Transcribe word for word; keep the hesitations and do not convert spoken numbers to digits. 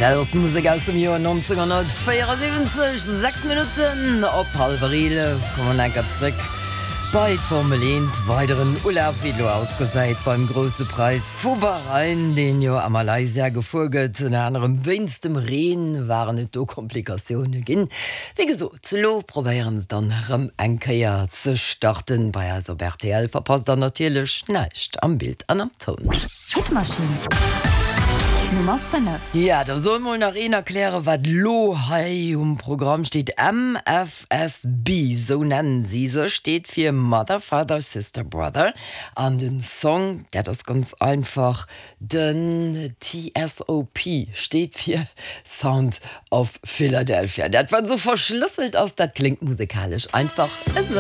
Dat ass Musek aus dem Joer neunzehnhunnertvéierundsiwwenzeg. Sechs Minutten op hallwer eelef, komme mer enker zréck bei d'Formel eent. Weideren Ulaf, wéi et lo ausgesäit beim Grousse Präis vu Bahrain, deen jo a Malaysia gefuer gëtt. Ënner anerem wéinst dem Reen waren et do Komplikatioune ginn. Wéi gesot, lo probéieren se dann erëm eng Kéier ze starten. Bei eis op R T L verpasst der natierlech näischt am Bild an am Toun. Hitmaschinn Nummer fënnef. Ja, da soll mol nach een erklären, wat lo hei um Programm steet. M F S B, sou nennen si sech, steet fir Mother, Father, Sister, Brother. An den Song, dat ass ganz einfach, den T S O P steet fir Sound of Philadelphia. Dat wat sou verschlësselt ass, dat kléngt musikalesch einfach esou.